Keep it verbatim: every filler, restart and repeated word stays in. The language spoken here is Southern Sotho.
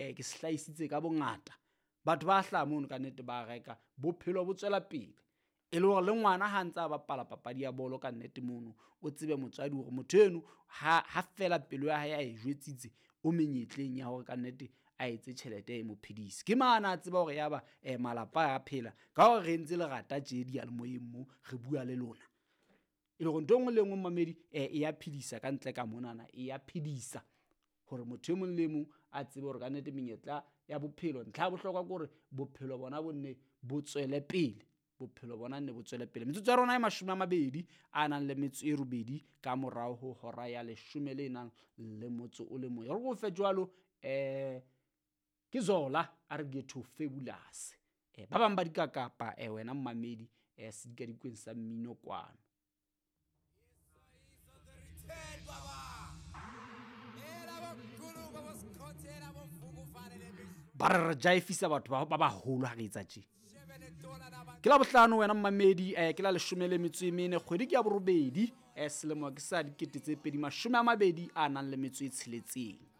um ke se hlahisitse ka bongata. Batho ba hlaha mono ka nnete ba reka, bophelo bo tswela pele. E le hore le ngwana ha ntse a bapala papadi ya bolo ka nnete mono, o tsebe motswadi hore motho eno ha ha fela pelo ya hae a e jwetsitse, o menyetleng ya hore ka nnete a etse tjhelete e mo phedise. Ke mane a tseba hore yaba um malapa a phela ka hore re entse lerata tje diyalemoyeng mo re bua le lona. E le hore ntho e nngwe le e nngwe momamedi um e ya phedisa ka ntle ka monana, e ya phedisa hore motho e mong le e mong a tsebe hore kannete menyetla ya bophelo, ntlha ya bohlokwa ke hore bophelo bona bo nne bo tswele pele, bophelo bona nne bo tswele pele. Metsotso ya rona e mashome a mabedi a nang le metso e robedi ka morao ho hora ya leshome le nang le motso o le mong. E re ke o fe jwalo um ke Zola a re Ghetto Fabulous. Um ba bang ba dikakapa um wena mmamedi um sedikadikweng sa mmino kwano. Ba re re jaefisa batho ba ba baholo ha re etsa tje. Ke la bohlano wena mmamedi, eh, ke la leshome le metso e mene, kgwedi ke ya borobedi, eh, selemo ke sa dikete tse pedi mashome a mabedi a nang le metso e tsheletseng.